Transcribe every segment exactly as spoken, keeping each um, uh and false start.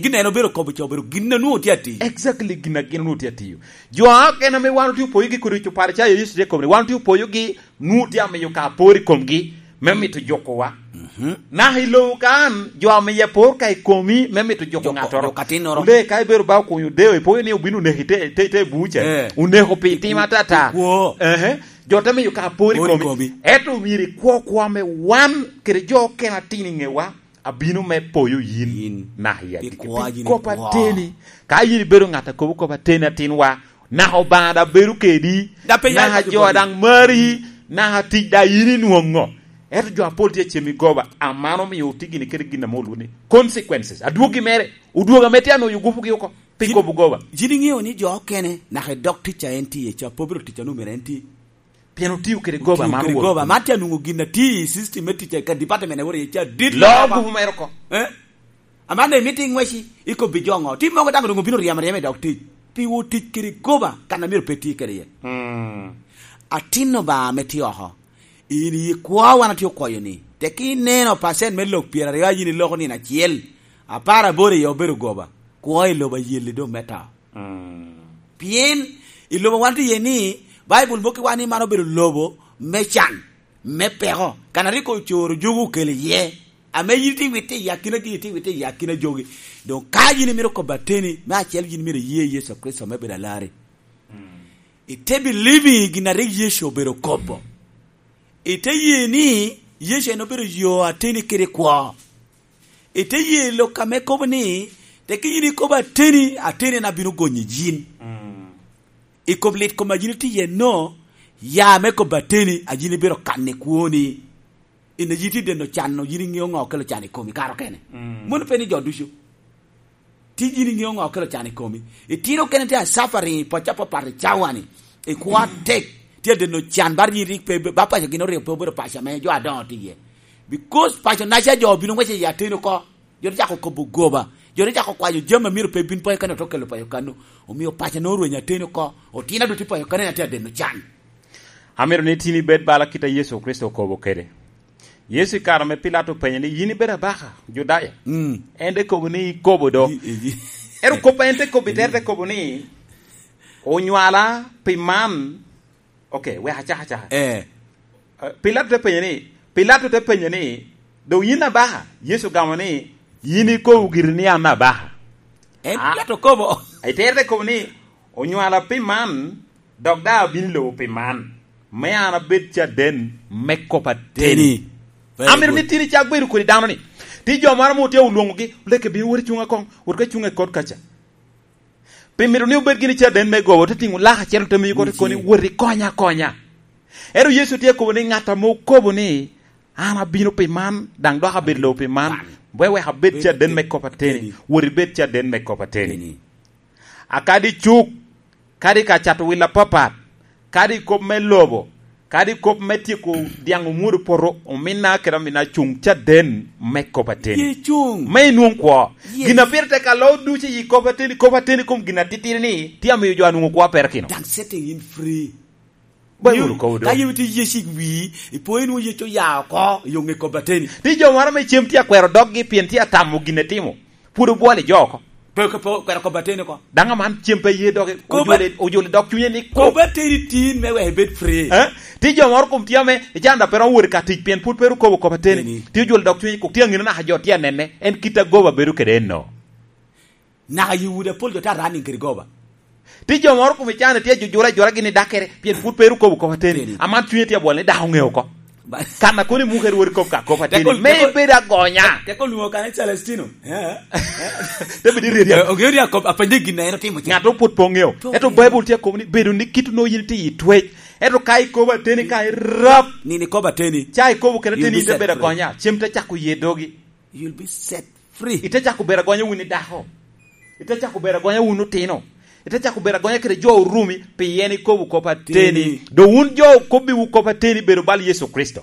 Gin en obedo kobo ca obedo gin a nwoŋo tye atiyo. Exactly, gin a gin onwoŋo tye atiyo. Jo okene ame wan otye opoyogi kodi, Oparicayo Yecu tye kobo ni, wan otye opoyogi, nwoŋo tye amiyo ka apor i komgi me mito jukowa. Mhm. Naka i lobo kan, jo amiyo apor ka i komi me mito juko Juko, ngattoro. Juko atinnoro. Onde ka ibedo ba okunyo deo, ipoyo ni obino oneko i te, te, te buca. Eh. Oneko pi tim atata. Kwo. Ehe. Jo te miyo ka apor i Apor i komi. Komi. Ento myero ikwo kwo ame wan kede jo okene atino i ŋewa abino me poyo yin Yin. Naka i Pi agikki. Kwa Pi yin kop ikwo. Ateni. Ka yin ibedo ŋat a kobo kop ateni atinwa, naka Obaŋa daŋ bedo kedi, Daŋ pe naka yal jo daŋ mari, naka tic daŋ yin inwoŋo. Ento jo apol tye acem i goba, aman omio otye gini kede gin ame olwoŋo ni consequences. Adwogi mere, odwogo ame tye anoyo gupugi oko, pi Yin, kobo goba. Yin iŋeo ni jo okene, naka i dog tic a en tye iye ca, pe obedo tic a nwoŋo myero en ti. Pien otio kede goba Otio man kede Rwot. Goba. Man tye anwoŋo gin a tye i system me tic a ka department a wot iye ca dit Loo loba. Gupu mere oko. Eh? Aman dong imito iŋweci, ikobbi jo ŋo? Tim mogo daŋ onwoŋo bino ryemo aryema i dog tic. Pi wot tic kede goba, kan a myero pe ti kede iye. Mm. Atin Obaŋa ame tye oko. In i kwo wan atye okwoyo ni, tek ineno pacent me lok pyeraryo a yin iloko nino acel, apar aboro iye obedo goba, kwo i lobo ayelli doŋ me to. Mm. Pien i lobo wan tye iye ni, Baibul mokkiwa ni man obedo lobo me can, me peko, kan a rik ocoro jogi okelo iye, ame yin itye witte i akina gin, itye witte i akina jogi. Doŋ ka yin imito kobo ateni, me acel yin myero iye Yecu Kricito me bedo alarri. Mm. Ite believing i gin a rik Yecu obedo kobo. Ite ye ni Yecu en obedo yo ateni kede kwo. Ite ye lok ame kobo ni, tek yin ikobo ateni, ateni en abino gonyo yin. Mm. I kom lit kom a yin itye iye no, ya me kobo ateni, a yin ibiro kan i kwoni. In a yin itye deno can-nu, yin iŋeo ŋo okelo can i komi kare okene. Mm. Mono pe ni jo ducu. Tye yin iŋeo ŋo okelo can i komi. Itino okene tye a suffering i pacca apapat i cawa-ni. I kwo atek, tye adeno can, bar yin rik pe, ba paco gin oryo pe obedo paco ame jo adoŋo tye iye. Because paco naca jo obino ŋwec i ateni oko. Jo te cako kobo goba. Jo te cako kwanyo jami a myero pe bin paco kano, te okelo paco kano. Omio paco nwoŋo orwenyo ateni oko. Otino adoti paco kano, en atye adeno can. Amito ni tin ibed bala kit a Yecu Kricito okobo kede. Yecu i kare ame Pilato openye ni, "Yin ibedo abaka, Judaya?" Mm. En te kobo ni, "Ikobo do." I, i, i. Ero kop a en te kobo, ite te kobo ni, "Onywala pi man." Ok, wek acak acaka. Eh. Eh, Pilato te penye ni, Pilato te penye ni, "Doŋ yin abaka?" Yecu ogamo ni, "Yin ikobo giri ni an abaka." En Ah. Pilato kobo. Ite te kobo ni, "Onywala pi man, dok daŋ abino i lobo pi man, me an abed caden me kop ateni." Teni. Very Amito good. Ni tin icak bedo kodi dano ni. Ti jo moro mo tye olwoŋogi, "Leke bino wot icuŋ akoŋ, wot ka icuŋ i kot kaca." Pi mito ni obed gini caden me goba, te tiŋo lak acel te miyo kot koni, "Wot ikonya akonya." Ero Yecu tye kobo ni ŋat ame okobo ni, "An abino pi man, daŋ dok abedo lobo pi man, bwe wek abed caden me kop ateni, wot ibed caden me kop ateni." Teni. Akadi cuk, kadi ka cato wil apapat, kadi kop me lobo, kadi kop me tyeko dyaŋ omwodo poto, ominna kede amina cuŋ caden me kop ateni. Ye cuŋ. Me inwoŋ kwo. Yes. Gin a pire tek alo ducu i kop ateni, kop ateni kom gin atitiri ni, tye amiyo jo anwoŋo kwo perakino. Daŋ setting in free. Ba Yu-, wunu kobo do. Ka yam itye yec i wii, ipo inwoŋo yec oya oko, i oŋe kop ateni. Tye jo moro ame cem tye akwero doggi pien tye atamo gin etimo. Pwod obwolo i jo oko. Pe, pe, pe, kwero kop ateni oko. Daŋ aman cem pe ye doge, Kop a-, ojolo, ojolo dog cunye ni kop. Kop ateni tin me wek ibed free. Eh? Tye jo moro kom tye ame, ican da pe romo wot i ka tic pien pwod pe ru kobo kop ateni. Ateni. Tye ojolo dog cunye kok tye aŋino naka jo tye anene. En kit agoba bedo kede eno. Naka i udi apol jo tye a running kede goba. Tye jo moro kome can tye ajujura ajura gin i dakere, pien pwod pe ru kobo kop ateni. Ateni. Aman cunye tye abwol ni dako ŋeo oko. Ba- Kan a kono i muke rwodi kop ka kop ateni. Teko, me teko, ibed agonya. Teko lwongo kan i Celestino. Eh, eh. Te bed i redi. Eh, ogeyo ni akop, apenye gin a en otimo ca. Ŋat opwod pe oŋeo. Pe Ento oŋeo. Baibul tye akobo ni bedo ni kit onwoŋo yin itye i twec. Ento ka ikobo ateni ka irap. Nini kobo ateni. Ca ikobo kede You'll ateni be ite set bedo free. Agonya. Cem te cako ye dogi. You'll be set free. Ite cako bedo agonya wun i dako. Ite cako bedo agonya wun otino. Ite cako bedo agonya kede jo orumi, pien ikobo kop ateni. Teni. Do wun jo okobbiwu kop ateni bedo bal Yecu Kricito.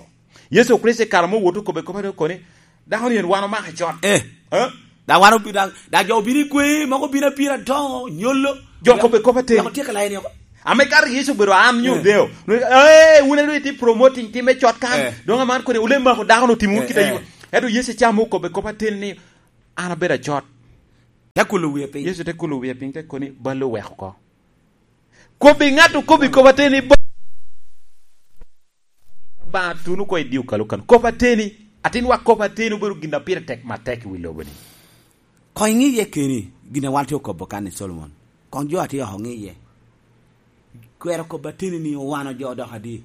Yecu Kricito i kare mo wot okobbe kop ateni okoni, dako ni en wan omako cot. Eh. Eh? Da wan obi-, da, da jo obino i kwe, mogo obino apira to, nyolo. Jo okobbe kop ateni. Loko tye ka layo ni oko. Ame ka Yecu obedo an nyo Eh. Deo. Eh, wun elu iti promoting time cot kan. Eh. Dong aman kodi, wule mako dako no timo Eh, kit ayu. Eh. Ento Yesu ca mo kobbe kop atin ni, "An abedo acot." Te kulo wie piny. Yecu te kulo wie piny, te koni, "Bal oweko oko." Kobbi ŋat okobbi kop ateni, ba-, ba tuno ko i dio kalo kan. Kop ateni, atin wa kop ateni obedo gin a pire tek matek i wi lobo ni. Koŋ iŋi iye keni, gin a wan tye okobo kan i Solomon. Koŋ jo atye oko ŋi iye. Kwero kop ateni ni owano jo dok adi?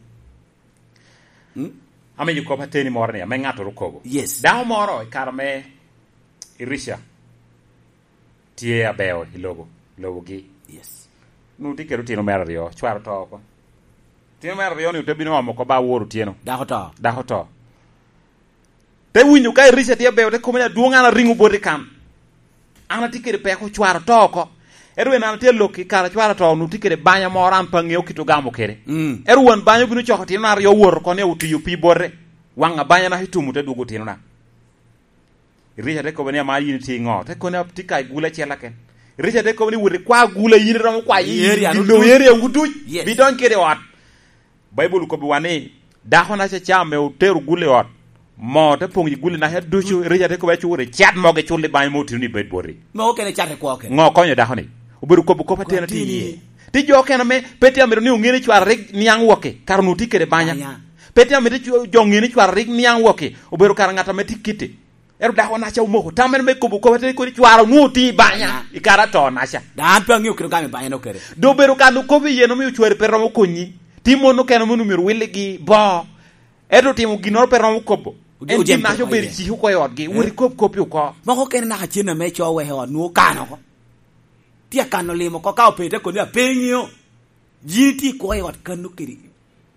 Hmm? Ame jo kop ateni moro ni, ame ŋattoro kobo. Yes. Dako moro i kare me Elisha tye abeo i lobo, lobogi. Yes. Nu tye kede otino mere aryo, cware oto oko. Otino mere aryo ni ote bino omo oko ba woro otyeno. Dako oto. Dako oto. Te winyo ka Elisha tye abeo, te kome ni, "Adwoŋ, an ariŋo boti kan. An atye kede peko, cware oto oko. Ento en an atye alok i kare cware oto, nu tye kede banya moro an pe aŋeo kit ogamo kede. Mm. Ento wan banya obino coko otinona aryo owoto oko ni otiyo pi bote. Waŋ abanya naka itumo te dwogo otinona." Elisha te kobo ni, "Ama yin itye i ŋo?" Te koni, "Atye ka i gula acel aken." Elisha te kobo ni, "Wot ikwa gula, yin iromo kwayo i, i lobo area wu duc. Yes. Bidony kede i ot." Baibul okobbiwa ni, "Dako-naca ca ame otero gula i ot, moo te poŋ i gula-naca ducu." Elisha te kobo, "Acur icat moo gicul i banya mo otino ni bed boti." Moo okene cat i kwo okene. Ŋo okonyo dako-ni? Obedo kobo kop ateni atye iye. Ti jo okene ame pe tye amito ni oŋe ni cware rik niaŋ wok-ki, kara onwoŋo tye kede banya. Banya. Pe tye amito jo, jo oŋe ni cware rik niaŋ wok-ki, obedo kara ŋat ame tye kite. Ento dako-naca omoko tam meno me kobo kop ateni kodi cware onwoŋo tye i banya, banya, i kare ato-naca. Dano pe aŋeo kede ogamo i banya-nu kede. Doŋ obedo kan okobo iye, omio cwari pe romo konyi. Ti mon okene mono myero willigi bo. Ento otimo ginnoro pe romo kobo. Ojo-, en ojempe gin-naca oko obedo iye. Cik oko i otgi. Eh? Wot ikob koppi oko. Moko okene naka cen ame co weko i ot, nwoŋo okano oko. Tye akano limo oko, ka openyo te koni, "Ape iŋeo? Yin itye i kwo i ot kano kede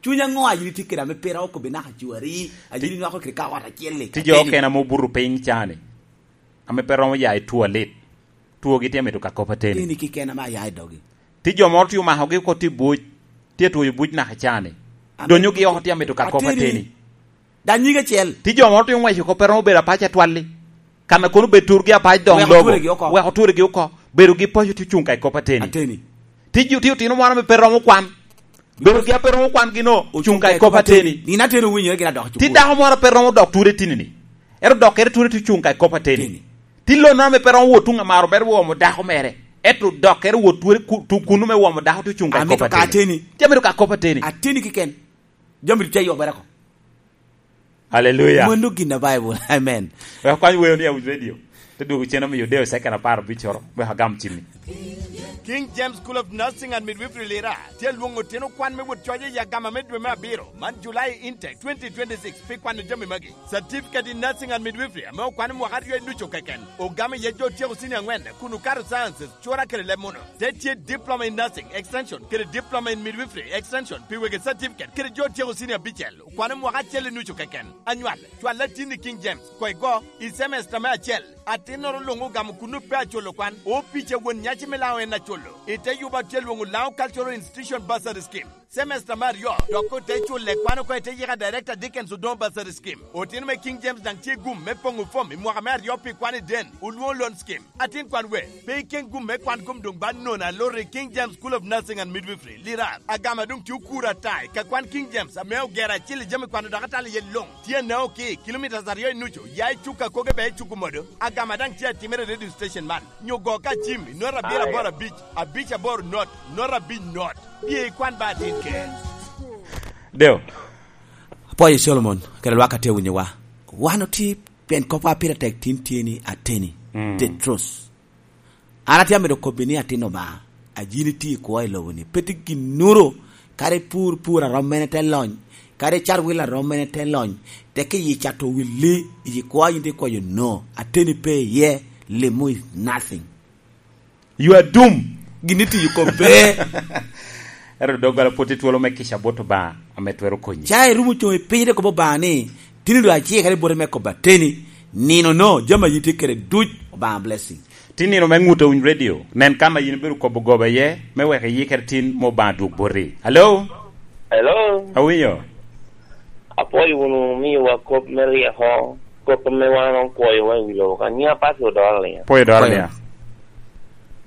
cuny aŋo a yin itye kede ame pe romo kobbi naka cwari, a yin inywako kede ka ot acel-li?" Ti jo okene ame obuto piny ca-ni, ame pe romo ya i two alit, twogi tye mito ka kop ateni. Ateni keken ame aya i dogi. Ti jo moro tye omakogi oko tye i buc, tye atwoyo buc naka ca-ni. Ame donyogi oko tye amito ka kop ateni. Ateni. Daŋ nyige acel. Ti jo moro tye oŋweco oko pe romo bedo apac atwal-li. Kan a kono bed turgi apac doŋ lobo. Wek oturegi oko. Wek oturegi oko. Bedogi paco tye ocuŋ ka i kop ateni. Ateni. Ti jo, ti otino moro ame pe romo kwan. Bedogi a pe romo kwan gino, ocuŋ ka i kop ateni. Nino ateni owinyore gin adok. Ti dako moro a pe romo dok ture tini-ni. Ero dokkere ture tye ocuŋ ka i kop ateni. Ateni. Ti lonno ame pe romo wot tuŋ amaro mere owomo dako mere. Ento dokkere wot ture ku-, tu-, kunnu me womo dako tye ocuŋ ka i kop ateni. Amito ka ateni. Ti amito ka kop ateni. Ateni keken. Jami tye yobere oko. Hallelujah. Mano gin a Bible. Amen. Wek akwany weo ni awinj radio. Te dwogo cen omiyo deo second apar abiccoro. Wek agam cimmi. King James School of Nursing and Midwifery Lira tye lwoŋo otino kwan me wot coc i agama me dwe me abiro, man July intake twenty twenty-six, pi kwano jami magi. Certificate in Nursing and Midwifery ame okwano mwaka aryo i ducu keken, ogamo iye jo otyeko senior angwen kun okato sciences, cura kede leb muno. Te tye Diploma in Nursing Extension kede Diploma in Midwifery Extension pi wegi certificate kede jo otyeko senior abicel. Kwano mwaka acel i nucu keken. Anywal, cwal atin i King James, koŋ igo, i semester me acel. Atinnoro luŋ ogamo kunnu pe aculo kwan. Opic a won nyaci me Laŋo en aculo. I te yuba tye lwoŋo Laŋo Cultural Institution Bursary Scheme. Semester me aryo, dok ote culle kwan oko i te yika Director Dickens Odongo Bursary Scheme. Otino me King James daŋ tye gum me poŋo fom i mwaka me aryo pi kwan i den, olwoŋo loan scheme. Atin kwan we, pe iken gum me kwan kom doŋ ba nono alor i King James School of Nursing and Midwifery, Lirar. Agama doŋ tye okuro ata i ka kwan King James ame ogero acil i jami kwano dok atalo iye luŋ. Tye anao ki, kilometres aryo i nucu, ya i cuk akoge bea i cuk omodo. Agama daŋ tye atimere i radio station man. Nyo go ka cim, i not abiro aboro abic, abic aboro not, not abic not. Bye ikwan ba atin ker. Deo. Apwoyo Solomon, kede lwak a tye winyowa. Wan otye, pien kopwa pire tek tin tye ni ateni. Mm. The truth. An atye amito kobbi ni atin Obaŋa, a yin itye i kwo i lobo-ni, pe tye ginnoro, kadi pur pur a rom mene te lony, kadi cat wil a rom mene te lony, tek iyi cato willi, iyi kwo yin tye kwayo no, ateni pe iye, limo is nothing. You are doomed. Gin itiyo kop pe. Ero doggola pwod tye twolo me kica bot Obaŋa ame twero konyi. Ca irumo coŋ i piny, ite kobo Obaŋa ni, "Tini doŋ acikere boti me kobo ateni, nino no, jami a yin tye kede duc, Obaŋa blessing." Tin nino me ŋut a winy radio, nen kan a yin ibedo kobo goba iye, me wek iyikere tin ma Obaŋa dwog boti. Hello? Hello? Awinyo? Apwoyo wunu miyowa kop me ryeko, kop ame wan opwoyowa i wi lobo ka. Nyinga Patrick Odoro Aliya. Pwoyo Odoro Aliya.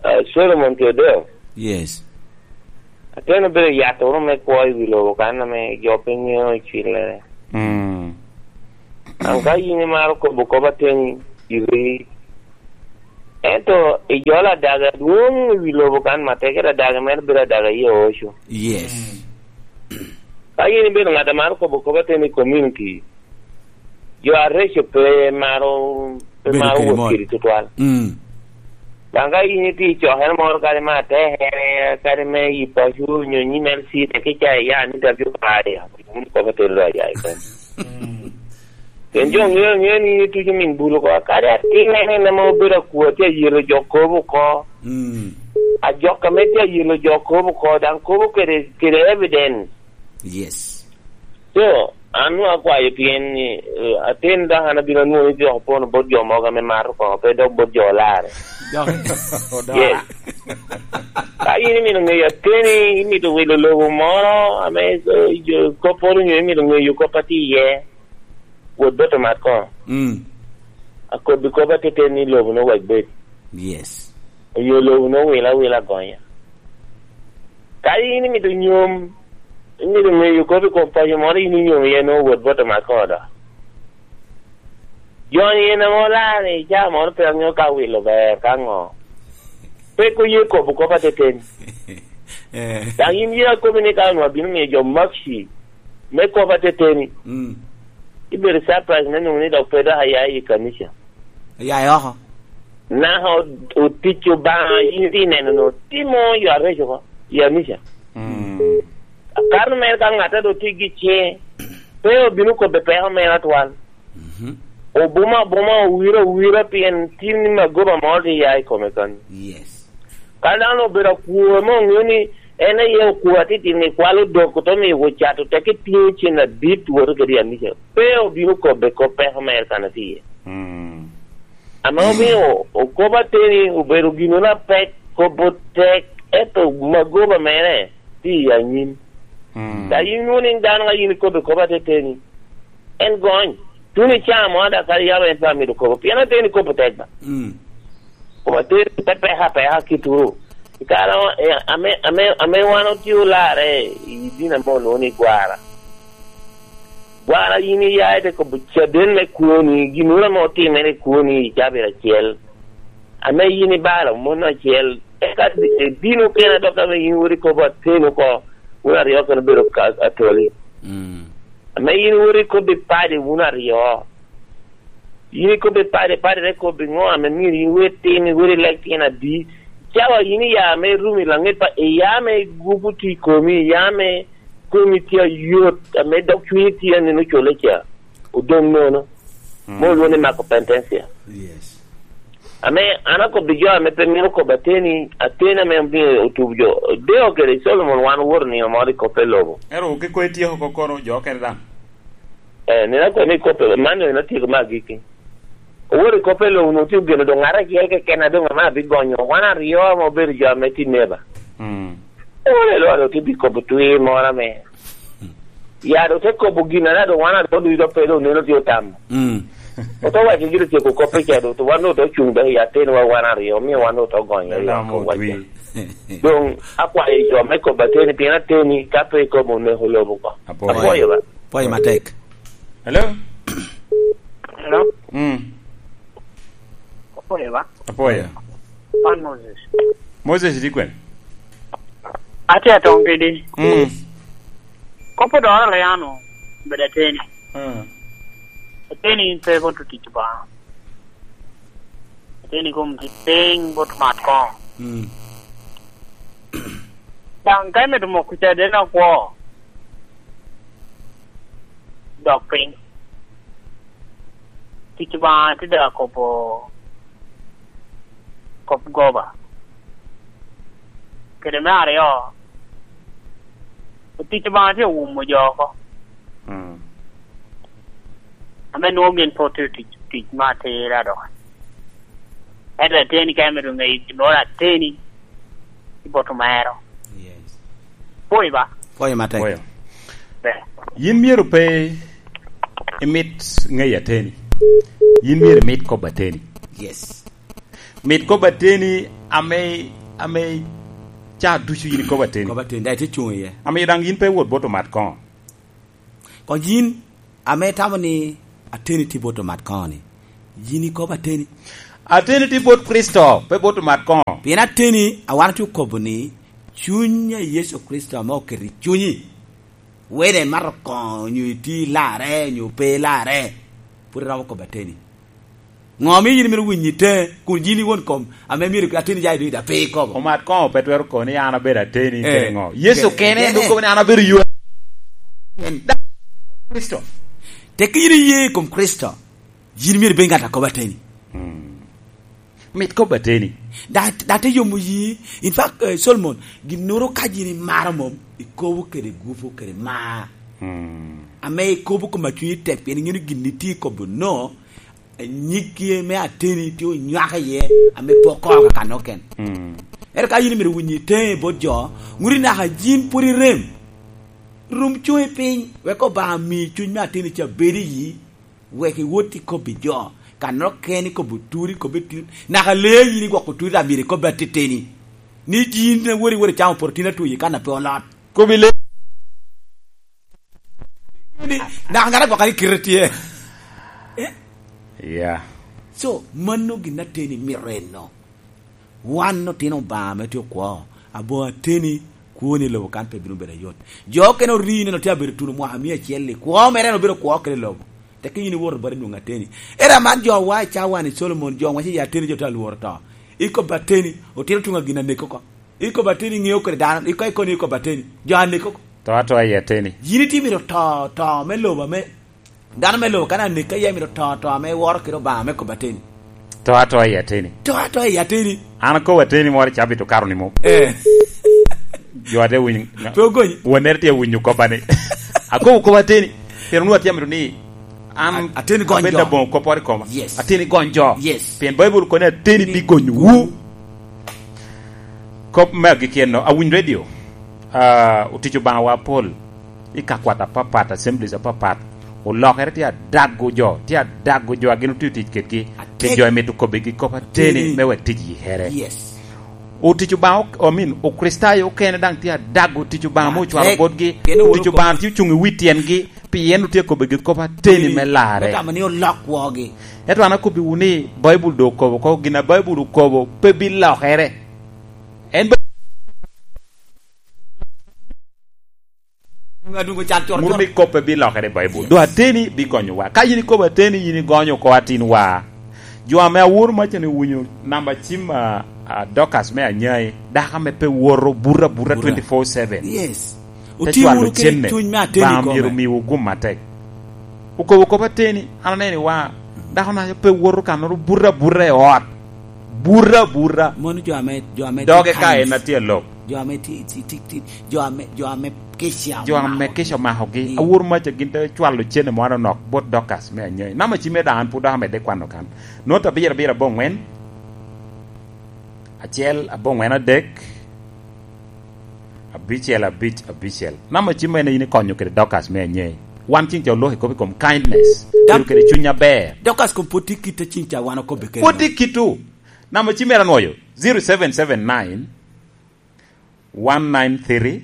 Ah, Solomon Tedeo. Yes. Ateno bedo yat oro me kwo i wi lobo kan ame jo pe ŋeo i cillere. Mm. An ka yin imaro kobo kop ateni, iri Ento i jolo adaga adwoŋ i wi lobo kan matek, ento adaga mere bedo adaga i oco. Yes. Ka yin ibedo ŋat a maro kobo kop ateni i community, jo areco pe maro, pe Bedo maro kede wot mot. Kedi tutwal. Mm. Daŋ ka yin itye i cokere moro, kadi me atekere, kadi me yi paco, onyo nyi L C, teke ca iya ni W I, wun kop ateni lo aya i kom. Pien jo ŋeo aŋea ni in ituco min bul oko, kadi atin en en ame obedo akwo, tye ayelo jo kobo oko. Mm. Ajok ame tye ayelo jo kobo oko, daŋ kobo kede, kede evidence. Yes. So, an nwoŋo akwayo pien ni, eh, atin dok an abino anwoŋo ni dok opono bot jo mogo ame mato koŋo, pe dok bot jo olarre. Dok odora. Yes. Ka in imito ŋeyo ateni, imito wilo lobo moro ame, eh, jo kopporo onyo imito ŋeyo kop a tye iye, wot bot omat koŋo. Mm. Akobbi kop ateten ni lobo nwoŋo wek bed. Yes. Oyo lobo nwoŋo wila wila gonya. Ka in imito nyom, imito ŋeyo kop i kom paco moro, in inyom iye nwoŋo wot bot omat koŋo dok. Joni en ame olar i caa moro pe aŋeo ka wilo ber ka ŋo. Pe ko ye kobo kop ateten. Eh. Daŋ in ye akobi ni ka onwoŋo abino miyo jo makci me kop ateteni. Mm. Ibedo surprise me nwoŋo ni dok pe dok aya i kanica. Aya oko. Naka o-, otic Obaŋa, in itye neno no, timo yo areco oko i kanica. Mm. Kano mere ka ŋat a dok tye gi ciŋe, pe obino kobbe peko mere atwal. Mhm. Obuma abuma, owiro awira, pien tin ni magoba moro tye ya i kome kan. Yes. Ka dano obedo akwo, ame oŋeo ni en aye okwo atitino, ni kwalo dok, oto miyo ocato, teke tingo cen adit, woto kede i kanica. Pe obino kobbe kop peko mere kan atye iye. Mm. Ame omio okobo ateni obedo gin apek, kobo tek, ento magoba mere tye i anyim. Mm. Ka in nwoŋo ni dano ka in ikobo kop ateteni, en gony. Tuno i caa mo ada kadi yam en pe amito kobo, pien ateni kobo tek ba. Mm. Kop ateni te peka apeka kituru. I kare, eh, ame, ame, ame wan otye olarre i dini ame olwoŋo ni gwara. Gwara in iya ite kobo caden me kwoni, ginnoro ame otimere i kwoni i cabit acel, ame in ibalo mon acel, eka di-, dino kene dok ame in wot ikobo ateni oko, wun aryo kene obedo ka-, atoli. Mm. Ame in wot ikobbi padi wun aryo. In ikobbi padi, padi te kobbi ŋo ame myero in wot tim, iwot ilek tyen adi? Cawa in iya ame irumo i laŋet pa, iya ame gupu tye i komi, iya ame komi tye ayot, ame dok cunyi tye anino cole ca, odoŋ nono. Mm. Mo olwoŋo ni Marco Pentensia. Yes. Ame an akobbi jo ame pe mito kobo ateni, ateni ame omio otubo jo. Deo kede Solomon wan owoto nino moro i kop i lobo. Ero kiko ityeko oko kono jo okene daŋ? Eh, nino akoni kop, man en atyeko me agikki. Owoto i kop i lobo, onwoŋo tye ogeno doŋ ŋat acel keken a doŋ ame abigonyo. Wan aryo ame obedo jo ame tye neba. Mm. Owot i lwak, ote bi kobo twir moro ame. Ya, doŋ te kobo gin a doŋ wan aryo ducu doŋ pe doŋ neno tye otamo. Mm. Ote waco gin otyeko kop i ca doŋ, to wan doŋ ote cuŋ doŋ i ateniwa wan aryo, omio wan doŋ ote gonyo i Lam oko waco. Otwi. Doŋ akwayo jo me kobo ateni, pien ateni ka pe ikobo oneko lobo oko. Apwoyo. Apwoyo ba. Apwoyo matek. Hello? Hello? Mm. Apwoyo ba? Apwoyo. Wan Moses. Moses, itye kwene? Atye atong kedi. Mm. Kop odoro Leano, bedo ateni. Mm. Ateni in pe bot otic Obaŋa. Ateni kom tic piny bot mat koŋo. Mm. Daŋ ka imito moko caden akwo, dok piny. Tic Obaŋa tye daŋ akobo kop goba. Kede me aryo, tic Obaŋa tye owumo jo oko. Mm. Ame nwoŋo gin pe otye tic, tic me atira dok. Ento ateni ka imito ŋeyo gin moro ateni, i bot omero. Yes. Pwoyo ba? Pwoyo matek. Pwoyo. Ber. Yin myero pe imit ŋeyo ateni. Yin myero imit kobo ateni. Yes. Mit kobo ateni ame, ame ca ducu yin ikobo ateni. Kobo ateni, daŋ itye cuŋ iye. Ame daŋ yin pe iwot bot omat koŋo. Koŋ yin ame itamo ni ateni tye bot omat koŋo ni, yin ikobo ateni. Ateni tye bot Kricito, pe bot omat koŋo. Pien ateni, a wan otye okobo ni, cuny a Yecu Kricito ame oketo i cunyi, wede imato koŋo onyo itye i larre onyo pe i larre, pwod iromo kobo ateni. Ŋo omio yin imito winyo i teŋe, kun yin i won kom ame myero ateni ja i dwe, da pe ikobo? Omat koŋo pe twero kobo ni an abedo ateni, eh, kede ŋo? Yecu kede, kene en doŋ kobo ni an abedo yo. En da Kricito. Tekki yin iye i kom Kricito, yin myero ibed ŋat a kobo ateni. Mm. Mit kobo ateni. Da, da te yomo yi. In fact, eh, Solomon, ginnoro ka yin imaro mom, ikobo kede gupu kede mar. Mm. Ame ikobo kom a cunyi tek, pien iŋeo ni gin itye i kobo no, nyiggi me ateni tye onywako iye, ame pe okoko ka noken. Mm. Ento ka yin imito winyo i teŋe bot jo, ŋut i naka yin pwod irem. Rum cuŋi piny, wek Obaŋa mi cuny me ateni ca bed i yi, wek iwot i kobbi jo, kan okene i kobbi oturi, i kobbi tut, naka lee yin igwoko tut, amyero i kobbi ateteni. Ni yin iwot, iwot icamo porotin atweyi kan a pe olot. Kobbi lee. Ni, naka ŋat agwoko ni kite tye. Eh? Yeah. So, mano gin ateni mito eno. Wan otino Obaŋa ame tye okwo, aboŋo ateni, kwoni i lobo kan pe bino bedo ayot. Jo okene ori neno tye abedo tuno mwaka mia acel-li, kwo mere en obedo kwo kede lobo. Tekki yin iwoto bot inwoŋo ateni. Era man jo wa i cawa ni Solomon, jo waco i ateni jo tye alworo to. Ikobo ateni, otito tuŋ a gin aneko oko. Ikobo ateni ŋeo kede dano, iko, iko ni ikobo ateni, jo aneko oko. To atoa i ateni. Yin itye mito to, to me lobo ame, dano me lobo kan aneka, ya mito to, to ame woro kede Obaŋa me kobo ateni. To atoa i ateni. To atoa i ateni. An akobo ateni moro i cabit okato ni mom. Eh. Jo ate winyo. Pe ogonyi. Wannere tye winyo kopa ni. Akobo kobo ateni. Pero nu atye mito ni an a-, ateni gony jo. Abed aboŋo kopporo i koma. Yes. Ateni gony jo. Yes. Pien Baibul kono ni ateni bi gonyowu. Kop me agikki enno, awinyo redio, ah, otic Obaŋawa apol i ka kwat apapat, assemblies apapat, olokere tye adago jo, tye adago jo a gin otye otic kedgi, pi jo emito kobbigi kop ateni me wek tic yikere. Yes. Otic Obaŋa ok-, I mean, Okricitayo okene daŋ tye adago tic Obaŋa ame ocwalo botgi. Otic Obaŋa tye ocuŋ i wi tyengi, pien otye kobbigi kop ateni me larre. Me tamo ni olok kwogi. Ento an akobbiwu ni, Baibul doŋ okobo oko, gin a Baibul okobo pe bilokere. En ba-, Adwogo cal coro coro. Muru ni kop pe bilokere i Baibul. Yes. Doŋ ateni bigonyowa. Ka yin ikobo ateni, yin igonyo oko atinwa. Jo ame aworo maca ni owinyo namba cim a, a, Dorcas me Anyai, dako ame pe woto buto abuta twenty-four seven. Yes. Te cwalo cenne, cuny me ateni Obaŋa myero omiwu gum atek. Okobo kop ateni, an aneno i waŋa, dako na pe woto kannoro, buto abuta i ot. Buto abuta. Mono jo ame, jo ame doge ka en atye alok. Jo ame ti, ti, ti, ti, jo ame, jo ame kica omako. Jo ame kica omakogi. Mm. Awor maca gin te cwalo cene moro anok bot Dorcas me Anyai. Namba cim me daŋ an pwod dok amedde kwano kan. Nota abiro abiro aboŋwen. Acel, aboŋwen adek, abicel, abic, abicel. Namba cim en a yin ikonyo kede Dorcas me Anyai. Wan cing ca oloko i kop i kom kindness. Dam-, bedo kede cuny aber. Dorcas kom pwod tye kit a cing ca wan okobbe kede. Pwod tye kit-tu. Namba cim mere anwoyo, zero seven seven nine, one nine three,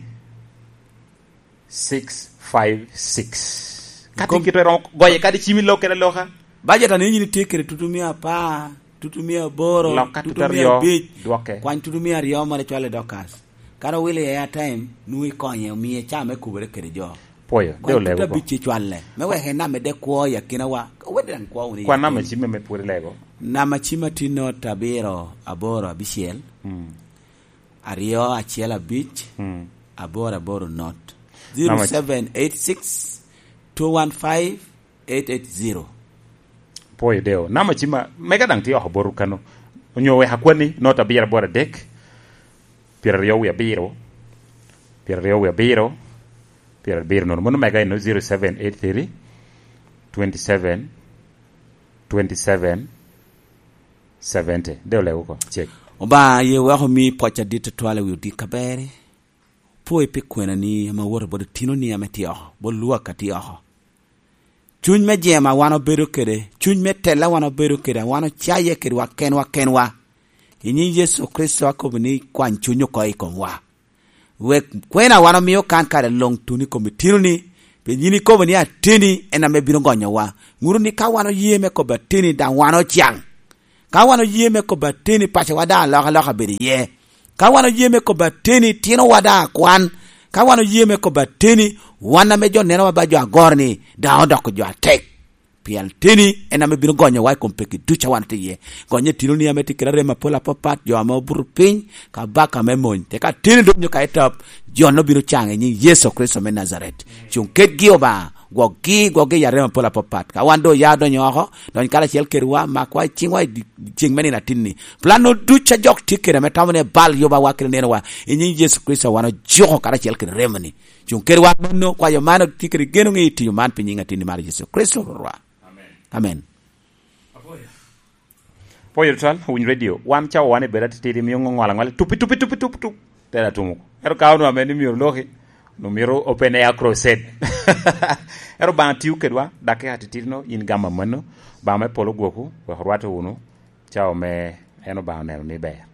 six five six. Kati kit iromo goye kadi cim i lok kede aloka. Bajet a nino yin itye kede tutu mia apar, tutu mia aboro, lok ka tutu mia abic, dwoke. Kwany tutu mia aryo moro icwale i Dorcas. Kara owilo i airtime, nwoŋo ikonye, omiye caa me kubere kede jo. Pwoyo, de olego oko. Kwany tutu abic icwalle. Me wek en amedde kwo i akinawa. Owedde daŋ kwo wunu i airtime. Kwan namba cim me pwod ilego. Namba cim a tye not abiro aboro abicel. Mm. Aryo acel abic, mm, aboro aboro not. Namba zero seven eight six, two one five, eight eight zero. Pwoyo deo. Namba cima mega daŋ tye oko botwu kano. Onyo wek akwanni, not abiro aboro adek, pyeraryo wie abiro, pyeraryo wie abiro, pyerabiro nono. Mano mega eno, zero seven eight three, twenty seven, twenty seven, seventy. De olego oko. Cek. Obaŋa, ye wek omi pwoc adit atwal i wi odit kaberri. Pwoyo pi kwenani ame awoto bot otinoni ame tye oko, bot lwak a tye oko. Cuny me jema wan obedo kede, cuny me tela wan obedo kede, wan ocaye kedwa kenwa kenwa. I nyiŋ Yecu Kricito akobo ni kwany cuny oko i komwa. Wek kwena wan omio kan kare luŋ tuno i kom itinoni, pien yin ikobo ni ateni en ame bino gonyowa. Ŋuto ni ka wan oye me kobo ateni, daŋ wan ocaŋ. Ka wan oye me kobba teni, pacowa daŋ alokaloka bedo iye. Ka wan oye me kobba teni, tinowa daŋ akwan. Ka wan oye me kobba teni, wan ame jo nenowa ba jo agoro-ni, daŋ odoko jo atek. Pien teni en ame bino gonyowa i kom peki ducu a wan tye iye. Gonye tinoni ame tye kede arem apol apapat, jo ame obuto piny, kabaka me mony. Teka teni donyo ka i tap, jo-nu bino caŋ i nyiŋ Yecu Kricito me Najaret. Cuŋ kedgi, Obaŋa, gwokgi, gwokgi i arem apol apapat. Ka wan doŋ oya odonyo oko, dony karacel kedwa, makwa i ciŋwa i di-, ceŋ me nino atinni. Plan-nu ducu a jok tye kede ame tamo ni ebal yubawa kede nenowa, i nyiŋ Yecu Kricito wan ojuko karacel kede remoni. Cuŋ kedwa mano, kwayo man otye kede geno ŋe i tiyo man pi nyiŋ atinni mar Yecu Kricito Rwotwa. Amen. Apoyo tutwal, owiny redio. Wan cawa wan i bedo atitidi, mio ŋo ŋwal aŋwal, tupi, tupi, tupi, tup, tup. Tera tumo. Ero ka onwa meni myero loki, no myero open air crusade. Ero Obaŋa tiyo kedwa, dak i atitidi no, in gama mano, Obaŋa me polo gwoku, wek orwate wunu, cawa me en Obaŋa oneno ni ber.